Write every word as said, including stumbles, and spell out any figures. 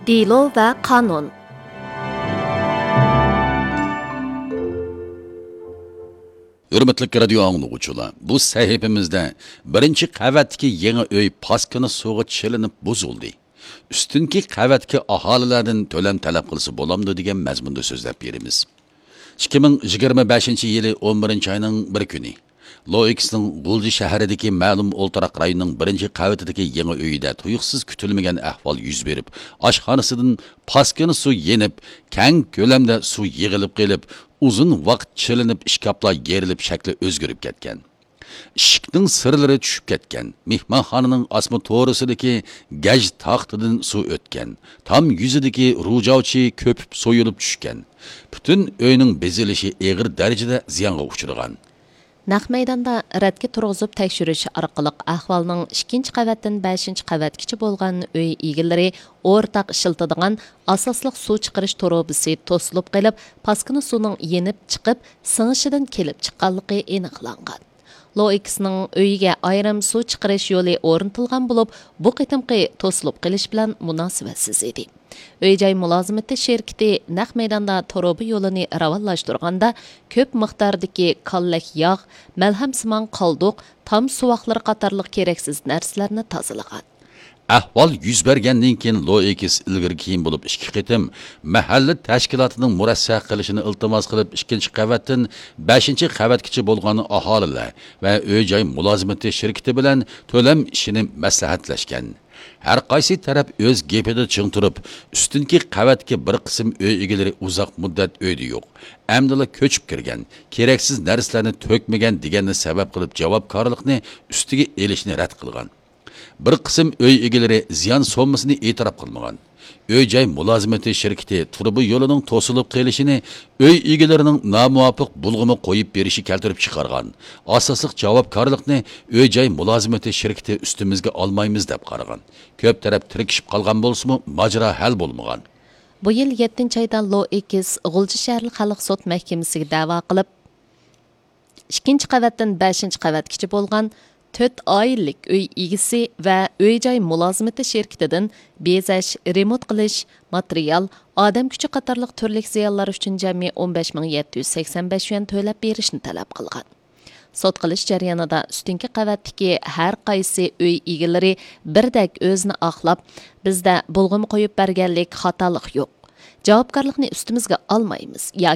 دېلو ۋە قانۇن. ھۆرمەتلىك رادىيو ئاڭلىغۇچىلار، بۇ سەھىپىمىزدە بىرىنچى قەۋەتتىكى يېڭى ئۆي پاسكىنا سۇغا چىلىنىپ بۇزۇلدى. ئۈستۈنكى قەۋەتتىكى ئاھالىلەردىن تۆلەم تەلەپ قىلسا بولامدۇ دېگەن مەزمۇندا سۆزلەپ بېرىمىز. ئىككى مىڭ يىگىرمە بەشىنچى يىلى ئون بىرىنچى ئاينىڭ بىر كۈنى لوئېكسنىڭ غۇلجا شەھىرىدىكى مەلۇم ئولتۇراق رايوننىڭ بىرىنچى قەۋىتىدىكى يېڭى ئۆيىدە تۇيۇقسىز كۈتۈلمىگەن ئەھۋال يۈز بېرىپ، ئاشخانىسىدىن پاسكىنا سۇ يېنىپ، كەڭ كۆلەمدە سۇ يىغىلىپ قېلىپ، ئۇزۇن ۋاقىت چىلىنىپ، ئىشكاپلار يېرىلىپ، شەكلى ئۆزگىرىپ كەتكەن. ئىشىكنىڭ سىرلىرى چۈشۈپ كەتكەن، مېھمانخانىنىڭ ئاسما تورۇسىدىكى گەج تاختىدىن سۇ ئۆتكەن، تام يۈزىدىكى رۇجاۋچى كۆپۈپ سويۇلۇپ چۈشكەن. پۈتۈن ئۆينىڭ بېزىلىشى ئېغىر دەرىجىدە زىيانغا ئۇچرىغان. نەق مەيداندا رەتكە تۇرغۇزۇپ تەكشۈرۈش ئارقىلىق ئەھۋالنىڭ ئىككىنچى قەۋەتتىن بەشىنچى قەۋەتكىچە بولغان ئۆي ئىگىلىرى ئورتاق ئىشلىتىدىغان ئاساسلىق سۇ چىقىرىش تۇرۇبىسى توسۇلۇپ قېلىپ، پاسكىنا سۇنىڭ يېنىپ چىقىپ، سىڭىشىدىن كېلىپ چىققانلىقى ئېنىقلانغان. لوئېكسنىڭ ئۆيىگە ئايرىم سۇ چىقىرىش يولى ئورنىتىلغان بولۇپ، بۇ قېتىمقى توسۇلۇپ قېلىش بىلەن مۇناسىۋەتسىز ئىدى. ئۆي-جاي مۇلازىمىتى شىركىتى نەق مەيداندا تۇرۇبا يولىنى راۋانلاشتۇرغاندا، كۆپ مىقداردىكى كاللەك ياغ، مەلھەمسىمان قالدۇق، تام سۇۋاقلىرى قاتارلىق كېرەكسىز نەرسىلەرنى تازىلىغان. ئەھۋال يۈز بەرگەندىن كېيىن، لوئېكس ئىلگىرى كېيىن بولۇپ ئىككى قېتىم مەھەللە تەشكىلاتىنىڭ مۇرەسسە قىلىشىنى ئىلتىماس قىلىپ، ئىككىنچى قەۋەتتىن بەشىنچى قەۋەتكىچە بولغان ئاھالىلەر ۋە ئۆي-جاي مۇلازىمىتى شىركىتى بىلەن تۆلەم ئىشىنى مەسلىھەتلەشكەن. ھەر قايسى تەرەپ ئۆز گېپىدە چىڭ تۇرۇپ، ئۈستۈنكى قەۋەتتىكى بىر قىسىم ئۆي ئىگىلىرى ئۇزاق مۇددەت ئۆيدە يوق، ئەمدىلا كۆچۈپ كىرگەن، كېرەكسىز نەرسىلەرنى تۆكمىگەن دېگەننى سەۋەب قىلىپ، جاۋابكارلىقنى ئۈستىگە ئېلىشنى رەت قىلغان. بىر قىسىم ئۆي ئىگىلىرى زىيان سوممىسىنى ئېتىراپ قىلمىغان. ئۆي-جاي مۇلازىمىتى شىركىتى تۇرۇبا يولىنىڭ توسۇلۇپ قېلىشىنى ئۆي ئىگىلىرىنىڭ نامۇۋاپىق بۇلغىما قويۇپ بېرىشى كەلتۈرۈپ چىقارغان. ئاساسلىق جاۋابكارلىقنى ئۆي-جاي مۇلازىمىتى شىركىتى ئۈستىمىزگە ئالمايمىز دەپ قارىغان. كۆپ تەرەپ تىركىشىپ قالغان بولسىمۇ، ماجىرا ھەل بولمىغان. بۇ يىل يەتتىنچى ئايدا لوئېكس غۇلجا شەھەرلىك خەلق سوت مەھكىمىسىگە دەۋا قىلىپ، ئىككىنچى قەۋەتتىن بەشىنچى قەۋەتكىچە بولغان تۆت ئائىلىلىك ئۆي ئىگىسى ۋە ئۆي-جاي مۇلازىمىتى شىركىتىدىن بېزەش، رېمونت قىلىش، ماتېرىيال، ئادەم كۈچى قاتارلىق تۈرلۈك زىيانلار ئۈچۈن جەمئىي ئون بەش مىڭ يەتتە يۈز سەكسەن بەش يۈەن تۆلەپ بېرىشنى تەلەپ قىلغان. سوت قىلىش جەريانىدا ئۈستۈنكى قەۋەتتىكى ھەر قايسى ئۆي ئىگىلىرى بىردەك ئۆزىنى ئاقلاپ، بىزدە بۇلغىما قويۇپ بەرگەنلىك خاتالىق يوق. جاۋابكارلىقنى ئۈستىمىزگە ئالمايمىز يا